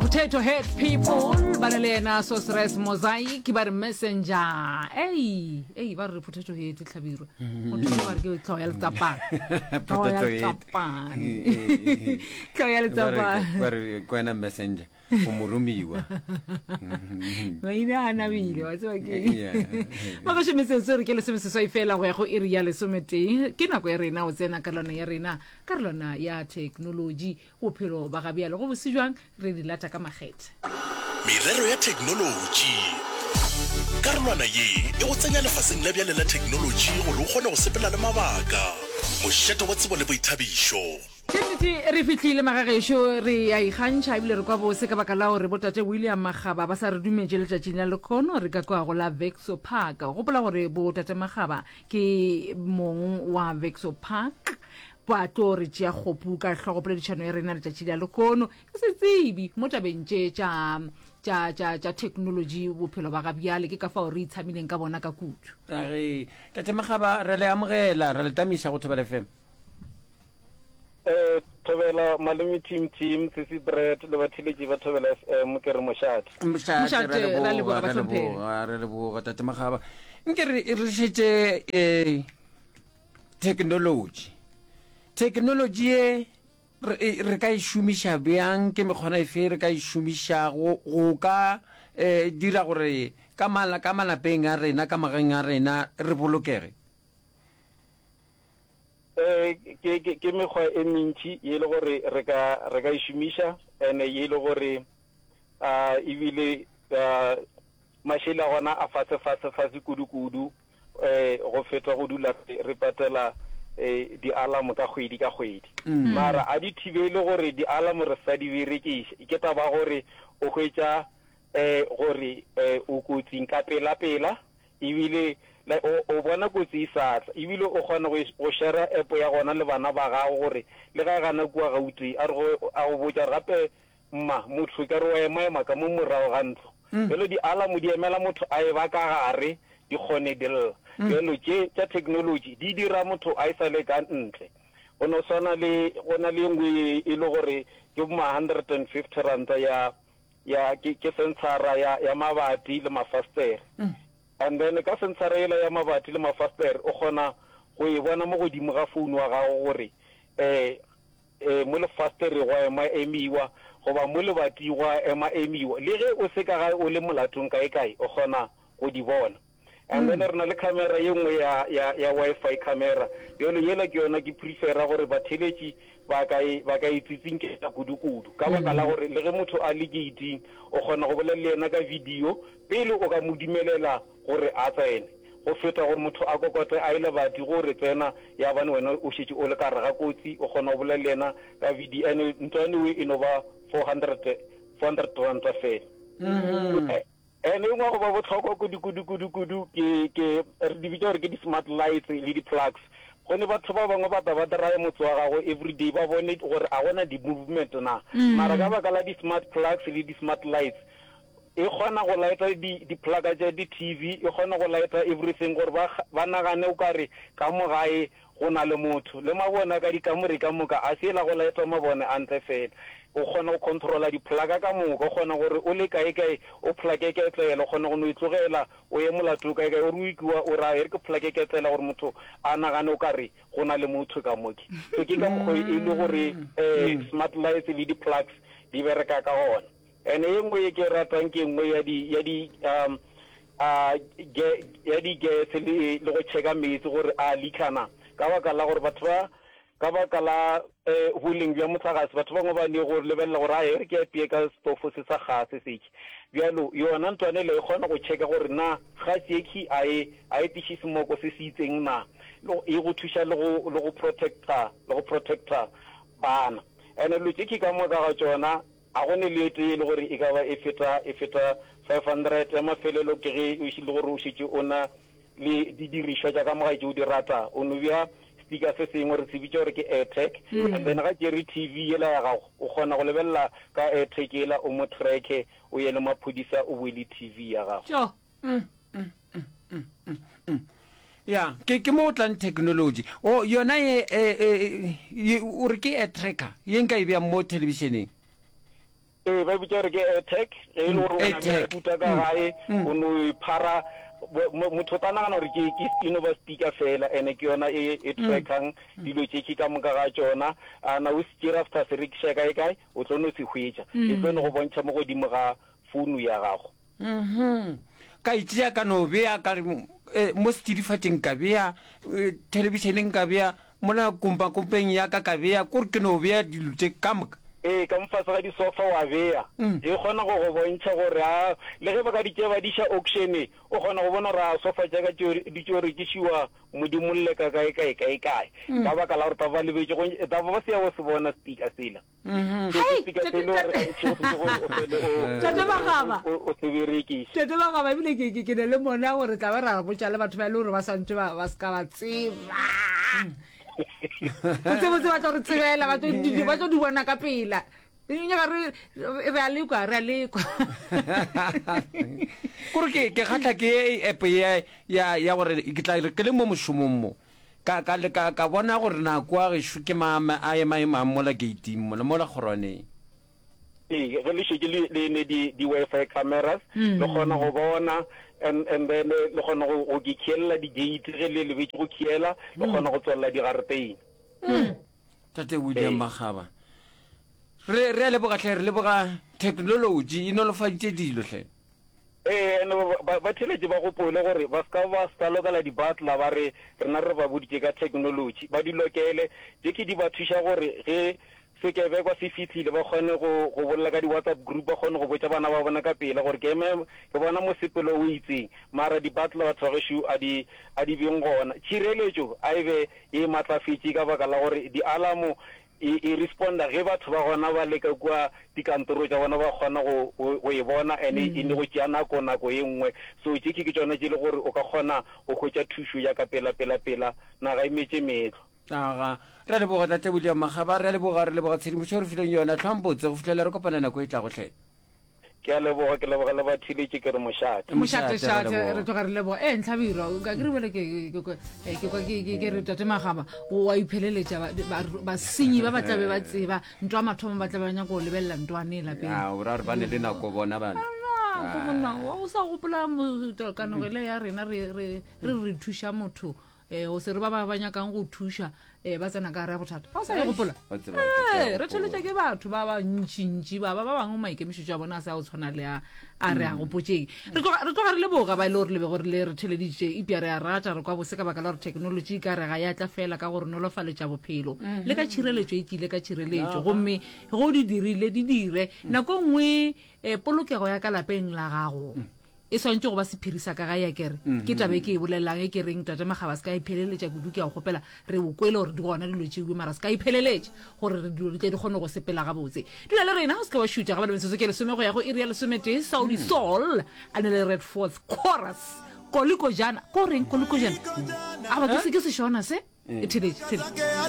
Potato Head People ba na le yena Sorceress Mosaic ba re Messenger. Ei, ei ba re Potato Head tlhabirwa. Motho ba re ke tlhogo ya letsapane. Tlhogo ya Potato Head. letsapane. Tlhogo ya letsapane. Ba re ke wena messenger o moromiwa. Maina a nabile wa tseba ke. Yeah. Magašo metsotso re ke lesomeseswai fela go ya go iri ya lesometee ke nako ya rena o tsena karolwana ya rena karolwana ya thekenoloji Bophelo ba ga bjale go bose bjang, re di lata ka makgethe. Merero ya theknolotši. Karolwana ye e go tsenya lefaseng la bjale la theknolotši gore o kgone go sepela le mabaka. Mošate wa tsebo le boithabišo. Ke nnete re fihlile magagešo, re a ikgantšha ebile re kwa bose ka baka la gore botate William Makgaba ba sa re dumetše letšatšing la lekhono re ka kwa go la Vexo Park. Gopola gore botate Makgaba ke mong wa Vexo Park Ba tlo re tšea kgopu ka hlogo poledišano ya rena letšatši la lehono. Ke setsebi mo tabeng tše tša, tša, tša, tša theknolotši bophelo ba ga bjale, ke ka fao re itshamileng ka bona ka kudu. A re, Tate Makgaba, re le amogela, re le tamiša go Thobela FM. Eh, Thobela, Malome Team Team, Sisi Bread le batheeletši ba Thobela FM, ke re mošate. Mošate, Mošate, ra ra leboga, leboga, ra bahlomphegi. leboga, re leboga, Tate Makgaba. Nke re, re šetše, eh, Theknolotši. Theknolotši ye re, e, re ka e šomiša bjang? Ke mekgwana efe re ka e šomišago go ka eh, dira gore ka, mala, ka malapeng a rena, ka magaeng a rena re bolokege? Eh, ke, ke, ke mekgwa e mentši ye e le gore re ka, re ka e šomiša ene ye e le gore uh, ebile uh, mašele a gona a fase fase fase kudu kudu. go feta go dula re patela di-alarm ka kgwedi ka kgwedi. Mara a di thibele gore di-alarm re sa di berekiša. Ke taba ya gore o hwetša gore o kotsing ka pela-pela ebile o bona kotsi e sa tla. Ebile o kgona go shera app ya gona le bana ba gago gore le ga e gana kua Gauteng a re a go botša gore gape Mma, motho e ka re o emaema ka mo morago ga ntlo. Bjalo di-alarm di emela motho a eba ka gare di kgone di lla. Bjalo tše tša technology di dira motho a e sa le ka ntle. Go no swana le go na le ye nngwe ye e le gore ke bo ma 150 ranta ya ya ke ke sensara ya ya mabati le mafastere. And then ka sensara yela ya mabati le mafastere o kgona go e bona mo godimo ga phone wa gago gore eh Ee, mo lefastereng gwa ema emiwa, goba mo lebating gwa ema emiwa. Le ge o se ka gae o le molatong kae-kae, o kgona go di bona. And then re na le camera ye nngwe ya, ya, ya Wi-Fi camera. Bjalo yela ke yona ke prefera gore batheeletši ba ka e, ba ka e tsitsinkela kudu-kudu. Ka baka la gore le ge motho a le gate-ing, o kgona go bolela le yena ka video pele o ka mo dumelela gore a tsene. Go feta gore motho a kokote a ye lebati go re tsena ya bane wena o šetše o le ka gare ga kotsi, o kgona go bolela le yena ka video and ntwa anyway e no ba 400, 400 ranta fela. And e nngwe ya go ba bohlokwa kudu kudu kudu kudu ke ke re di bitša gore ke di smart lights le di plugs. Gone batho ba bangwe ba tla ba draye motse wa gago everyday ba bone gore a gona di movement na. Mara ka baka la di smart plugs le di smart lights E kgona go lighta di, di-plug tša di-TV, e kgona go lighta everything gore ba, ba nagane o ka re ka mo gae go na le motho. Le mabone a ka dikamore ka moka, a se la go lighta mabone a ntle fela. O kgona go controla di-plug ka moka, o kgona gore o le kae kae o plug-e ketlela, o kgona go no e tlogela o ye molato kae kae, o re o ikiwa o re a e re ke plug-e ketlela gore motho a nagane o ka re go na le motho ka mo. So ke ka mokgo e le gore um smart lights le di-plugs di bereka ka gona. And e nngwe ye ke e ratang ke nngwe ya di ya di um a ge ya di gas le le go checka meetse gore a leaka na. Ka baka la gore batho ba ka baka la eh boleng bja mohlagase batho bangwe ba ne go lebelela gore a e re ke apeye ka stofo se sa gase seke. Bjalo yona ntlwana ela e kgona go checka gore na gase ye khi a e a e tliše semoko se se itseng na. E go thuša le go le go protector le go protector bana. And dilo tše khi ka moka ga tšona A go ne le e tee e le gore e ka ba e feta, e feta 500? Ya mafelelo ke ge o le gore o šetše o na le didirišwa tša ka mo gae tše o di rata. O no bea sticker se sengwe, re se bitša gore ke AirTag, and then ga tšere TV yela ya gago, o kgona go lebelela ka AirTag yela, o mo tracke, o ye le maphodisa, o boe le TV ya gago. Tjo. Ya, ke ke mo o tlang technology. O yona ye e, e, ye o re ke air tracker ye nka e bea mo thelebišeneng. Ee, ba e bitša gore ke AirTag. Ge e le gore o na le AirTag. computer ka gae, o no e phara, bo- mo- motho o tla nagana gore ke ke e no ba speaker fela, ene ke yona e e trackang dilo tše ke ka moka ga tšona. A na o se tšere after se rekiša kae kae, o tlo no se hwetša. E tlo no go bontšha mo godimo ga founu ya gago. Mhm. Ka e tšea ka no bea ka re eh, mo setšidifatšing ka bea, eh, thelebišeneng ka bea, mola kompakompeng ya ka ka bea, kore ke no bea dilo tše ka moka. Ee, ka mo fase ga disofa wa bea. E kgona go go bontšha gore a, le ge ba ka di tšea ba di iša auction-e, o kgona go bona gore a sofa tša ka tšeo di tšo rekišiwa modimolle ka kae kae kae kae. Ka baka la gore taba ba lebetše go, taba ba se ya go se bona speaker sela. Tate Magaba. Tate Magaba ebile ke ke ke ne le mona gore tla ba ra botša le batho ba e le gore ba santse ba ba se ka ba tseba. Botsebotse ba tlo re tsebela ba tlo di ba tlo di bona ka pela. Nyaka re re a lekwa re a lekwa. Kore ke ke kgatlha ke app ya ya ya gore ke tla re ke le mo mošomong mo Ka, ka, ka, ka bona gore na kua gešo ke mang a emaemang mola keiting mola, mola kgorwaneng. Ee, ge le šetše le, le ne di, di Wi-Fi cameras, le kgona go bona and, and then le kgona go, go ke khielela di-gate ge le lebetše go khiela, le kgona go tswalela digareteine. Tate William Ee. Makgaba, re, re a leboga hle, re leboga technology e nolofaditše dilo hle. Ee, and ba, ba theeletše ba gopole gore ba se ka ba sa lokela di-butler ba re rena re ba boditše ka technology. Ba di lokele. Tše ke di ba thuša gore ge sekebekwa se fihlile ba kgone go, go bolela ka di-WhatsApp group, ba kgone go botša bana ba bona ka pela gore ke eme ke bona mosepelo o itseng. Mara di-butler batho ba gešo a di, a di beng gona. Tšhireletšo a e be e matlafetše ka baka la gore di-alarm E, e responda ge batho ba gona ba le ka kua dikantoro tša bona ba kgona go, go, go e bona and e ne go tšea nako nako ye nngwe. So tše ke tšona tše le gore o ka kgona go hwetša thušo ya ka pela pela pela. Naga e metše meetlo. Aga. Re a leboga Tate William Makgaba, re a leboga, re leboga tshedimošo e re fileng yona. Hlwang botse go fihlela re kopana nako e tlago hle. Ke a leboga, ke leboga le batheeletši ke re mošate. Mošate Mošate, re šate, leboga. re tloga re leboga. Ee, Ntlhabirwa, ka ke re bjale ke ke ke eh, ke kwa ke ke ke re Tate Magaba o a ipheleletša ba- ba- basenyi ba ba tlabe ba tseba ntwa mathomo ba tlabe ba nyaka go lebelela ntwane lapeng. Ya, o ra gore ba ne le nako bona bana. Nako monna, o sa gopola mo- kanogele ya rena re re re re thuša motho um go se re ba ba ba nyakang go thuša um ba tsena ka gare ya bothata ga o sa e gopola Wa tseba ke tla ee re gopola. theletša ke batho ba ba ntšintši ba ba ba bangwe maikemišetšo a bona a se a go tshwana le a a re a gopotšeng re tloga re tloga re leboga ba e le gore le be gore le re theleditše epša re a rata re kwa bose ka baka la gore technology e ka re ga ya tla fela ka go re nolofaletša bophelo le ka tšhireletšo e tlile ka tšhireletšo gomme ge o di dirile di dire nako e nngwe um polokego ya ka lapeng la gago E swanetše go ba sephiri sa ka gae, akere? Ke taba e ke e bolelelang, e ke reng, Tate Makgaba, se ka ipheleletša kudu, ke a go kgopela. Re o kwele gore di gona dilo tšeue, mara se ka ipheleletša gore re dilo di tle di kgone go sepela gabotse. Dula le rena, o se ke wa šutha. Gabale metsotso ke lesome go ya go iri ya lesometee, Saudi Soul a ne le Red Force Chorus. Kolikojana, ko reng kolikojana? Aba ke se ke sešona se? E theletše, theletše.